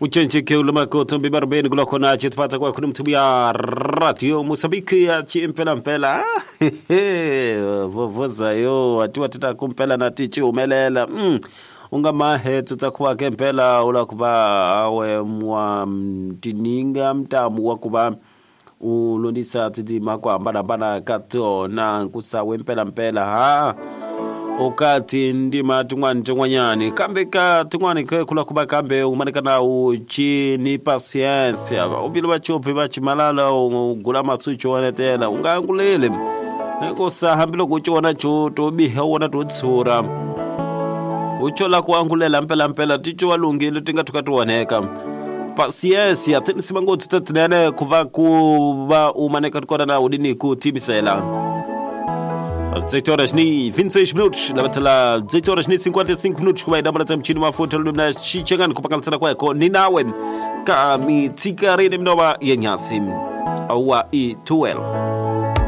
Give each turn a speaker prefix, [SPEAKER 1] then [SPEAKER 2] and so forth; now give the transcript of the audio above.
[SPEAKER 1] Ucenjeke ulamakoto mbibarubeni kula khona chitipata kwa kuna mtubu ya radio Mosambiki ya chimpela mpela vovoza yo atiwa tita kumpela na tichi umelela unga mahe tutakuwa kempela ula kuba awe mwa mtininga mtamu wa kuba ulondisa titima kwa hambana ka tona nkusawe mpela mpela ha ukati ndima tin'wani tin'wanyani kambe ka tin'wani ke kula kuba kambe umanikana uchi ni pasiensia uvile va chopi va chimalala ugula matsucho wanetela unga anguleli hikusa hambiloko u cona co to biha wona to tshura u la ku angulela mpelampela ti cowa lunghile ti nga thuka ti onheka pasiensia ti nisima ngopfu ta tinene ku va u maneka kona na udini ku timisela 18 horas ni 26 minutos lavatela 18 horas ni 55 minutos kuva idambala mchini mafuta lumna chichengani kupakalisana kweko ni nawe ka mitsika rene minova yenyasi awa i 12.